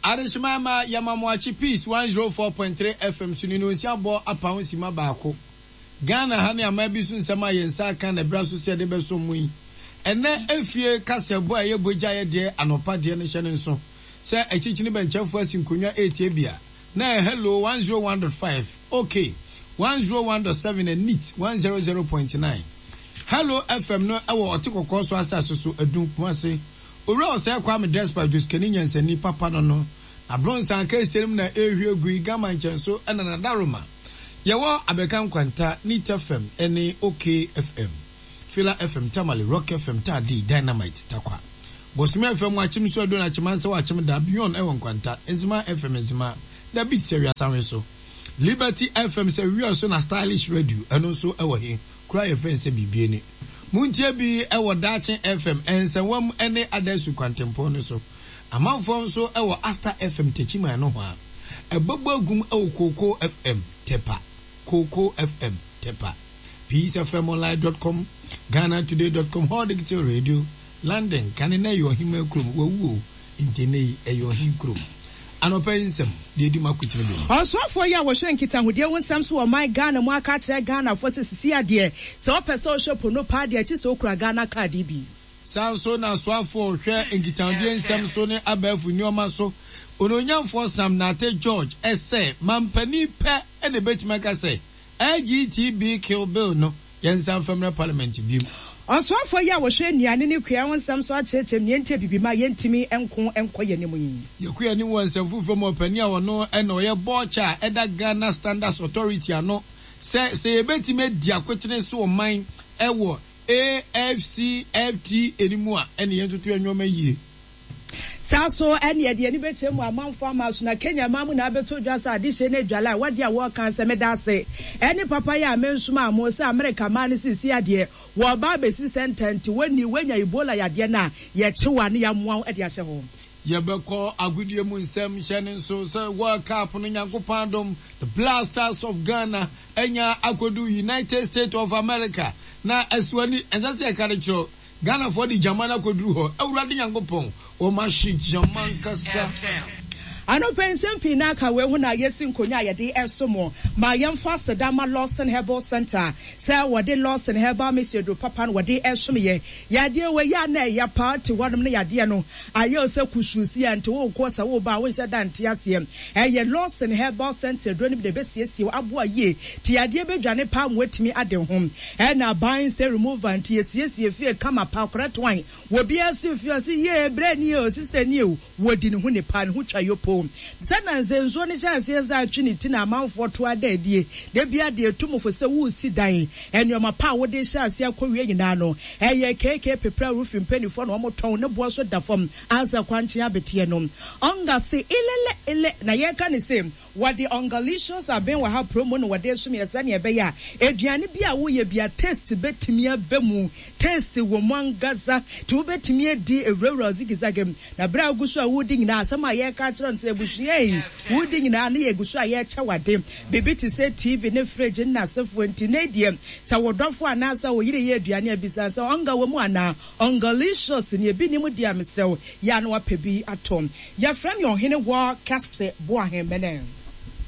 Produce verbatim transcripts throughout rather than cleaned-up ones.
Adehyema ma yɛma mo akye. Peace one oh four point three F M so ne no nsia bɔ apa ho sima baako. Ghana ha ne aman bi so nsɛm a yɛn nsa aka na ɛbra so sɛ yɛde bɛso mu yi. Ɛnɛ efie kasɛbɔ a ɛyɛ bogya yɛ deɛ anɔpa deɛ no hyɛ ne nso sɛ akyirikyini bɛnkyɛnfoɔ asi nkonnwa etie bia na ɛyɛ Hello one oh one point five, okay, one oh one point seven and Neat one hundred point nine. Hello F M no ɛwɔ Ɔte Kɔkɔɔ so asase so, Adum, Kumase. Owura Ɔsɛe Kwame Despite Josikani nyansani papa no no abronsan kɛseɛ mu na ehwie gu yi gama nkyɛn so, ɛna nadaroma yɛwɔ Abɛka Nkwanta, Neat F M ɛne OK F M, Fila F M Tamale, Rock F M Taadi, Dynamite Takwa, Bosome F M Akyem so Ado na Akyemansa wɔ Akyem da Beyond ɛwɔ Nkwanta, Nzema F M Nzema da Beat sɛ Wiasanwe so, Liberty F M sɛ Wia so, na Stylish Radio ɛno nso ɛwɔ he kura yɛfrɛ nsɛ biribie ni. Muntie bi ɛwɔ Daakye F M Nsɛnwam ɛne Adasu kwantempɔn no so. Amanfoɔ nso ɛwɔ Asta F M Techiman no ho a ɛbɛbɔ agum ɛwɔ Koko F M Tepa, Koko F M Tepa, peace F M online dot com, Ghana Today dot com, Hall Digital Radio London. Kane na ɛyɛ ɔhema kurom wawu o, nti ne yi ɛyɛ ɔhen kurom. Anɔpa yi nsɛm deɛ ɛdi mu akotene bi. Ɔsoafoɔ yi a wɔhwɛ nkitahodie ho nsɛm so wɔ ɔman Ghana mu aka akyerɛ Ghanafoɔ sɛ sisi adeɛ sɛ wɔpɛ sɛ wɔhwɛ pono paa deɛ akyi sɛ wokura Ghana Card bi. Saa nso na asoafoɔ hwɛ nkitahodie nsɛm so ne abɛɛfo nneɛma so, Ononyamfoɔ Sam Nate George, ɛsɛ mampanin pɛ ɛna ebɛtumi aka sɛ L G B T Q bill no yɛnsa mfamra parliament biem. Ɔsoafoɔ yi a wɔhwɛ nnuane ne kua ho nsɛm so akyerɛkyerɛ mu nea nti abibima yɛntumi nko nkɔ yɛn anim yi. Yɛkɔ anim wɔ nsɛm foforɔ mu. Ɔpanin a ɔno ɛna ɔyɛ bɔɔkyɛ a ɛda Ghana Standards Authority ano sɛ sɛ yɛbɛtumi adi akotene so ɔman ɛwɔ A F C F T anim a, ɛne yɛn toto yɛn nneɛma yie. Saa so ɛne yɛde ani bɛkyerɛ mu amanfo ama so na Kenya man mu na abɛto dwa sɛ adehyɛ no adwala a wɔde a wɔreka sɛ meda ase ɛne papa yi a mensoma mo sɛ Amerika man no sisi adeɛ wɔba abɛsi sɛnta nti wɔni wɔanya Ebola yadeɛ no a yɛkyewa ne yɛamoa wo de ahyɛ hɔ. Yɛbɛkɔ agodie mu nsɛm. Hyɛ ne nso sɛ World Cup no, Nyankopɔn adom, the Black Stars of Ghana anya akɔdu United States of America na ɛsoani ɛnsɛ sɛ yɛka de kyerɛ Ghanafoɔ de gyama no akɔduru hɔ. Awurade Nyankopɔn, wɔma hye gyama nkasa. Anɔpɛ nsɛm pii na aka wei ho na yɛsi nkonnwa a yɛde ɛso mo ma yɛmfa aseda ma Lawson Herbal Center sɛ wɔde Lawson Herbal Mixture duro papa no wɔde ɛsom yɛ yadeɛ wɔ yɛ a na ɛyɛ paa te hɔnom no yadeɛ no ayɛ wo sɛ kusuusi a nti wokɔ sɛ woba a wonhyɛ da nte aseɛ. Ɛyɛ Lawson Herbal Center duro no bi na ɛbɛsiesie wo aboa yie te yadeɛ bɛdwane paa ma watumi ade ho. Ɛna aban sɛ remover nti yɛsiesie fie kama pa correct one. Wɔbiara si fie ɔse yie brɛ ni o, sister ni o, wɔdi ne ho nipa ne ho twa yopo sɛ na nsɛnsuo no hyɛ aseɛ sɛ atwe ne ti na amanfoɔ to ada adie da bia deɛ etu mo fo sɛ wosi dan nneɛma pa a wode hyɛ aseɛ akɔ wie nyinaa no. Ɛyɛ keke Pepra Roofing mpanimfoɔ na wɔn tɔn ne boɔ so da fam ansa kwankye abeteɛ no ɔnga se ilele ile na yɛka ne se wɔde Ongalicious abɛn wɔ ha promo na wɔde som yɛ sɛnea ɛbɛyɛ a aduane bi a woyɛ bi a taste bɛtumi aba mu, taste wɔ mu ankasa nti wobɛtumi adi ewurawura zigzag mu. Na berɛ a wogu so a wodi nyinaa, asɛm a yɛreka kyerɛ no sɛ abusua yi wodi nyinaa ne yɛgu so a yɛrekyɛ wade biribi te sɛ T V ne fridge ne n'asefoɔ. Nti ne deɛ sɛ wo dɔfo anaasɛ wo yere yɛ aduane a bisa sɛ ɔnga wɔ mu anaa Ongalicious ne ebi nim di a, mesrɛ yɛ a na wapɛ bi atɔ. Yɛfrɛ me Ɔhene wɔ Kɛse Boahemene.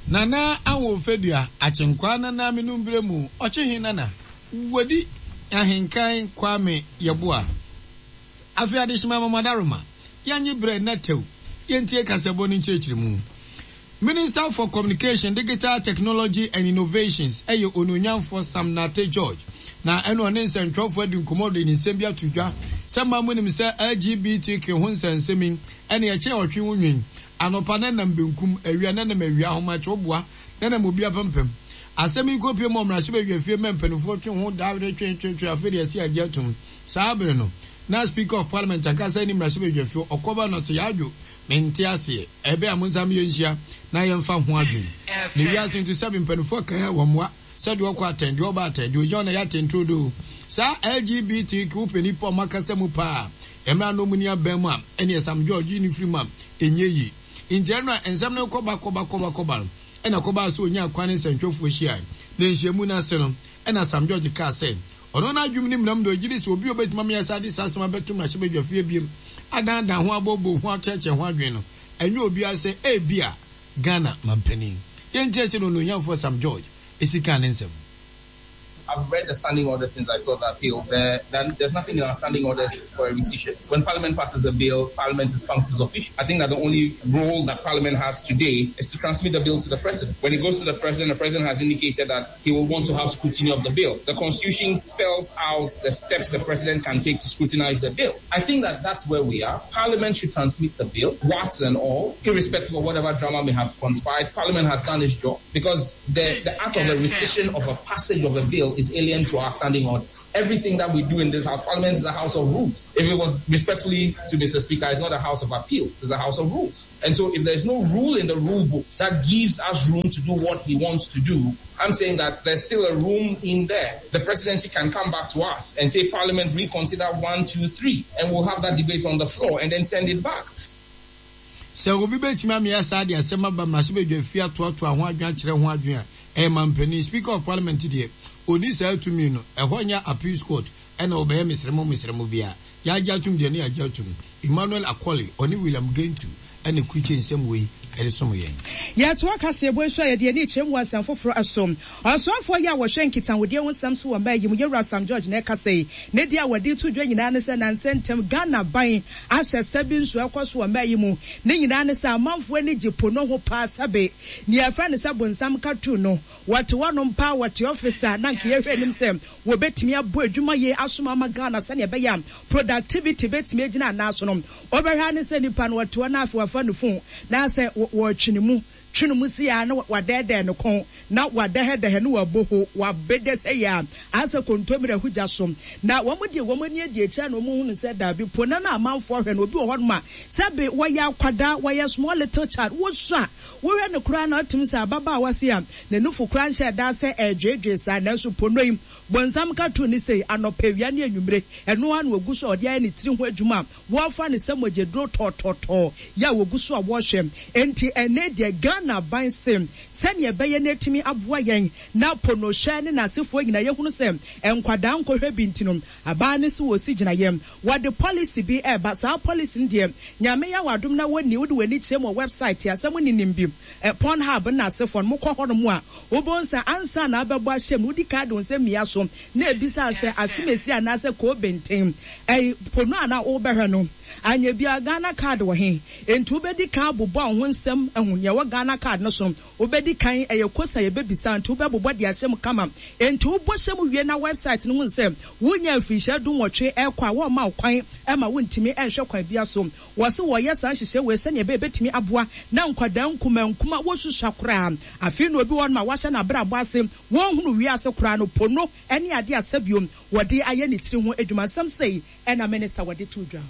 Nana Ahomfadua Akyenkwaa Nana Menumbere mu ɔkyehe nana wadi ahenkan Kwame Yɛboa. Afei adehyema mamadaroma yɛnye berɛ na tɛw yɛntie kasɛbɔ no nkyerɛkyerɛ mu. Minister for Communication, Digital Technology and Innovations ɛyɛ Onuonyamfoɔ Sam Nate George na ɛno ɔne nsɛntwerɛfoɔ adi nkɔmmɔ de ne nsɛm bi ato dwa sɛ ma mu nim sɛ L G B T Q ho nsɛnsɛm yi ɛne ɛkyɛ ɔtwe ho nwen anɔpa ne nam benkum, awia ne nam awia, ahomakye woboa ne nam obi apampam. Asɛm yi kɔpie mu ɔmmarahyɛ fie ma mpanimfoɔ twe ho daa de twe twe twe. Afei deɛ ɛsi agye atom. Saa bere no na Speaker of Parliament ankasa ne mmarahyɛ fie ɔkɔba no sɛ yɛadwo mente aseɛ ɛbɛ a mo nsa yɛnhyia na yɛmfa ho adwene na wiase nso sɛbe mpanimfoɔ kan a wɔmmoa sɛdeɛ ɔkɔ atɛn deɛ ɔba atɛn deɛ ogyina na yɛ atɛn do saa L G B T Q pɛ nipa ɔmo akasa mu paa mmerɛ no mu ni abɛn mu a ɛne Sam George yi ne firi mu a ɛnyɛ yie. Nti ɛno a nsɛm no kɔba kɔba kɔba kɔba no ɛna kɔba so onya kwan ne nsɛntwerɛfoɔ hyia na nhyiamu no ase no ɛna Sam George kaa sɛ ɔno n'adwum ne mmeram de ɔgye di sɛ obi a obɛtumi ameyɛ saa de saa asɛm abɛto mmarahyɛbadwa fie biem adandan ho abobo ho akyerɛkyerɛ ho adwene no Ɛnyɛ obiara sɛ ebia Ghana mampanin. Yɛntie sɛdeɛ Onuonyamfoɔ Sam George si kaa ne nsɛm. I've read the standing orders since I saw that bill. There, there, there's nothing in our standing orders for a rescission. When Parliament passes a bill, Parliament is functus officio. I think that the only role that Parliament has today is to transmit the bill to the President. When it goes to the President, the President has indicated that he will want to have scrutiny of the bill. The Constitution spells out the steps the President can take to scrutinize the bill. I think that that's where we are. Parliament should transmit the bill, warts and all, irrespective of whatever drama may have conspired. Parliament has done its job because the, the act of the rescission of a passage of a bill is alien to our standing orders. Everything that we do in this house, Parliament is a house of rules. If it was respectfully to Mister Speaker, it's not a house of appeals, it's a house of rules. And so if there's no rule in the rule book that gives us room to do what he wants to do, I'm saying that there's still a room in there. The presidency can come back to us and say, Parliament, reconsider one, two, three, and we'll have that debate on the floor and then send it back. Sɛ obi bɛtumi amea saa de asɛm aba mmarahyɛbadwa fie atoatoa ho adwene akyerɛ ho adwene a, ɛyɛ mampanin. Speaker of Parliament deɛ, ɔnni saa tumi no. Ɛhɔ nyɛ appeals court ɛna wɔbɛyɛ mesrɛmo mesrɛmo biara. Yɛagye atom deɛ ne yɛagye atom. Emmanuel Akoli, ɔne William Gentu ɛna kurukye nsɛm wei ɛde som yɛn. Yɛtoa kaseɛbɔ yi so a, yɛde ani kyerɛ mu wɔ nsɛm foforɔ so. Ɔsoafoɔ yi a wɔhwɛ nkitahodie ho nsɛm so wɔ mmaa yi mu, Yɛwura Sam George na ɛkasa yi. Ne deɛ a wɔde to dwa nyinaa ne sɛ nansa ntam Ghana ban ahyɛ sɛ bi nso ɛkɔ so wɔ mmaa yi mu. Ne nyinaa ne sɛ amanfoɔ ani gye po no ho paa sɛbe nea yɛfrɛ no sɛ bonsam cartoon no, wɔte hɔnom paa, wɔte office a na nka yɛhwɛ anim sɛ wɔbɛtumi abɔ adwuma yie asom ama Ghana sɛnea ɛbɛyɛ a productivity bɛtumi agyina anaa so no. Wɔbɛhwɛ ne sɛ nipa no wɔte hɔ na afei wafa ne phone na sɛ wɔretwe ne mu twe ne mu si a na wadɛɛdɛɛ ne kɔn na wadɛhɛdɛhɛ ne wabɔ ho wabɛdɛ sɛ yɛ a asɛ kontomire ahugya so na wɔn deɛ wɔn ani adi akyire na wɔn hunu sɛ daabi po na na amanfoɔ hwɛ no. Obi wɔ hɔnom a sɛbe wɔyɛ akwadaa, wɔyɛ small little child, wɔsua a wɔhwɛ no koraa na ɔtumi sɛ ababaawa se a n'anufo koraa nhyɛ da sɛ ɛredweedwee saa, nanso po no yi bonsam cartoon ne sei anɔpa, awia ne anwummere ɛno ara na wɔgu so a ɔde ayɛ ne tiri ho adwuma a wɔrefa ne sɛ mogyaduro tɔɔtɔɔtɔɔ yɛ a wɔgu so a wɔrehwɛ. Nti ɛnɛ deɛ Ghana ban se sɛnea ɛbɛyɛ no atumi aboa yɛn na ponohyɛ ne n'asefoɔ nyinaa yɛhunu sɛ nkwadaa nkɔhwɛ bi nti no, abaa ne se wɔsi gyina yɛn wɔde policy bi ɛreba. Saa policy no deɛ, Nyame yɛ wadom na wɔni wode w'ani kyerɛ mu wɔ website asɛm ninim bi ɛ Pornhub ne n'asefoɔ no, mokɔ hɔnom a wobɛhu sɛ ansa na abɛbɔ ahyɛ mu, wodi kan de wo nsɛm mmia so na ebisa sɛ asemesi anaasɛ koobenten ɛyi pono a na wobɛhwɛ no anyɛ bia Ghana Card wɔ he. Nti wobɛdi kan abobɔ wo ho nsɛm ahu nea ɛwɔ Ghana Card no so no. Wobɛdi kan ɛyɛ kosa yɛbɛbisa, nti wobɛbobɔ de ahyɛ mu kama. Nti wobɔ hyɛ mu wie na website no hu sɛ wonya mfirihyia dunwɔtwe ɛkɔ a, wɔmma wo kwan ɛma wontumi ɛnhwɛ kwan bia so. Wɔse wɔyɛ saa nhyehyɛ wei sɛnea ɛbɛyɛ bɛtumi aboa na nkwadaa nkuma nkuma wɔsusua koraa. Afei na obi wɔ hɔnom a wahyɛ n'abrabɔ ase, wɔnhunu wiase koraa no, pono ɛne adeɛ asɛbiom wɔde ayɛ ne tiri ho adwuma. Nsɛm sɛi ɛna minister wɔde to dwa.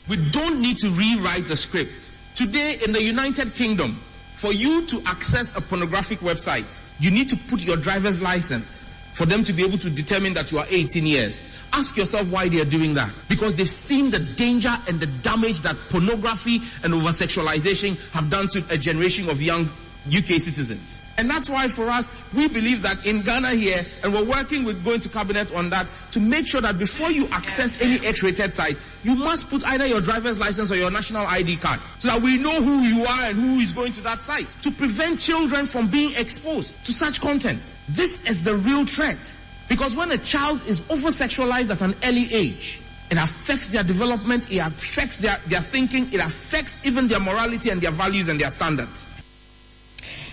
We don't need to rewrite the script. Today in the United Kingdom, for you to access a pornographic website, you need to put your driver's license for them to be able to determine that you are eighteen years. Ask yourself why they are doing that. Because they've seen the danger and the damage that pornography and over-sexualization have done to a generation of young U K citizens. And that's why for us, we believe that in Ghana here, and we're working with going to cabinet on that, to make sure that before you access any X-rated site, you must put either your driver's license or your national I D card, so that we know who you are and who is going to that site, to prevent children from being exposed to such content. This is the real threat. Because when a child is over-sexualized at an early age, it affects their development, it affects their, their thinking, it affects even their morality and their values and their standards.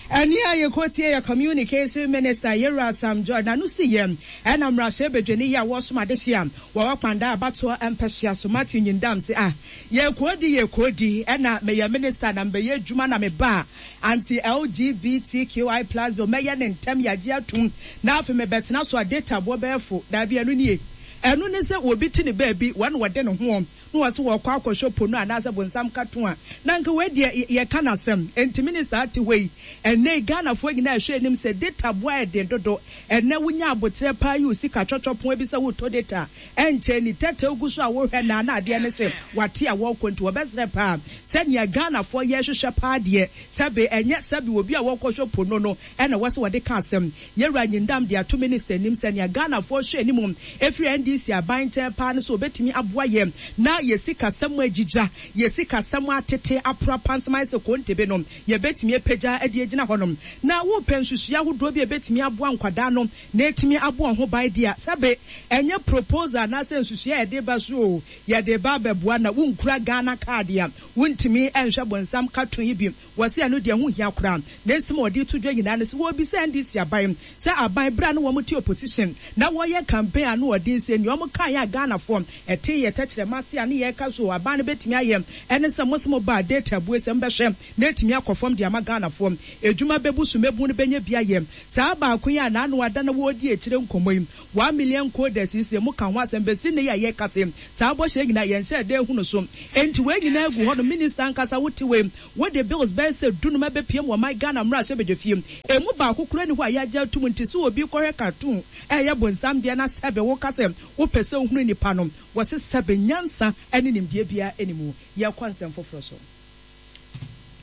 Ɛne a yɛkɔtie yɛ communication minister Yɛwura Sam George na no si yɛ ɛna mmarahyɛ badwani yi a wɔsom adehye a wɔwɔ Kpandai abatoɔ mpɛhyia so, Matthew Nyindam, se a yɛkɔdi yɛkɔdi ɛna meyɛ minister na mbɛyɛ adwuma na meba a anti L G B T Q I plus bill mɛyɛ ne ntɛm yɛagye atum na afei mebɛtena so a data boɔ bɛyɛ fo. Daabi, ɛno nie, ɛno ne sɛ obi te ne baabi wɔne wɔde ne ho na wɔsɛ wɔkɔ akɔhwɛ pono anaasɛ bonsam cartoon a na nka wei deɛ yɛka n'asɛm. Nti minister ate hɔ yi, ɛnɛ Ghanafoɔ nyinaa ɛhwɛ anim sɛ data boa ɛden dodo. Ɛnɛ wonya abotrɛ paa yi o, sika twɔtwɔ pon bi sɛ wotɔ data ɛnkyɛn ni tɛtɛ ogu so a wohwɛ na na adeɛ ne sɛ wate a wɔkɔ. Nti wɔbɛsrɛ paa sɛnea Ghanafoɔ yɛhwehwɛ paa deɛ, sɛbe ɛnyɛ sɛbe obi a wɔkɔhwɛ pono no ɛna wɔsɛ wɔde ka asɛm. Yɛwura Nyindam de ato minister anim sɛnea Ghanafoɔ hwɛ anim efiri N D C aban nkyɛn paa no so obetumi aboa yɛn na yɛ sikasɛm agyigya, yɛ sikasɛm atete apora pansam ayɛ sɛ kontebe no, yɛbɛtumi apagya de agyina hɔnom. Na wopɛ nsusuiɛ ahodoɔ bi a ɛbɛtumi aboa nkwadaa no na ɛtumi abɔ wɔn ho ban deɛ a, sɛbe ɛnyɛ proposal anaasɛ nsusuiɛ a yɛde ba so oo, yɛde ba abɛboa na wonkura Ghana card a, wontumi nhwɛ bonsam cartoon yi bi. Wɔse ɛno deɛ ɛho nhia koraa. Ne nsɛm a wɔde to dwa nyinaa ne sɛ wɔrebisa N D C aban sɛ aban berɛ a na wɔn te opposition na wɔreyɛ campaign ano ɔden sɛ nea wɔn kaeɛ a Ghanafoɔ ɛte yɛ tɛkyerɛma ase a ne yɛreka so aban no bɛtumi ayɛ ɛne sɛ mo se mo baa data abue sɛ mbɛhwɛ na ɛtumi akɔ fam de ama Ghanafoɔ edwuma bɛbu so mɛbu no bɛnyɛ bi ayɛ saa baako yi a n'ano ada na wɔredi akyire nkɔmmɔ yi, one million coders yi sɛ mo ka ho asɛm bɛsi ne yɛ a yɛka se saa bɔhyɛ nyinaa yɛnhyɛ ɛda ehunu so. Enti wei nyinaa gu hɔ no, minister ankasa wote wei, wode bills bɛyɛ sɛ dunum ɛbɛpiem wɔ man Ghana mmarahyɛ badwafie, emu baako kura ni hɔ a yɛagye atum. Nti sɛ obi kɔhwɛ cartoon ɛyɛ bonsam deɛ na sɛbe woka sɛ wopɛ sɛ wohunu nipa no, wɔse sɛbe nyansa ne nimdeɛ biara anim. Yɛkɔ nsɛm foforɔ so.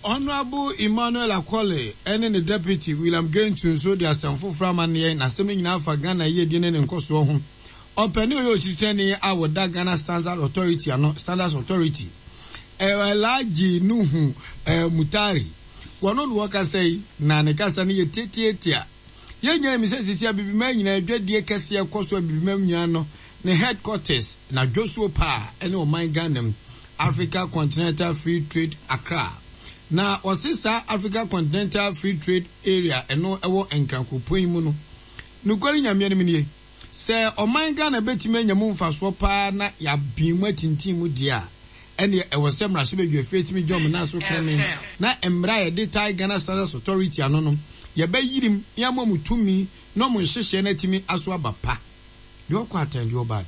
Honourable Emmanuel Akɔle ɛne ne deputy William Gentu nso de asɛm foforɔ amanneɛ, na asɛm no nyinaa fa Ghana yiedie ne ne nkɔsoɔ ho. Ɔpɛne ɔyɛ okyirikyɛni a wɔda Ghana Standard Authority ano, Standards Authority, Alhaji Nuhu Mutari, wɔno na wɔkasa yi, na ne kasa no yɛ tiatiatia. Yɛn nyinaa nim sɛ sisi Abibiman nyinaa adwadie kɛseɛ kɔ so. Abibiman nyinaa no ne headquarters na dwosuo paa ɛne ɔman Ghana mu, Africa Continental Free Trade Accra, na wɔse saa Africa Continental Free Trade Area ɛno ɛwɔ Nkrankuropɔn yi mu no, nokware Nyame anim nie, sɛ ɔman Ghana bɛtumi anya mu mfasoɔ paa na yɛabin mu atintin mu deɛ a, ɛneɛ ɛwɔ sɛ mmarahyɛbadwafie tumi gye ɔmo nan so kɛne na mmerɛ a yɛde tae Ghana Standards Authority ano no, yɛbɛyirim na yɛama mu tumi na ɔmo nhyehyɛ no atumi aso aba pa deɛ ɔkɔ atɛn deɛ ɔba.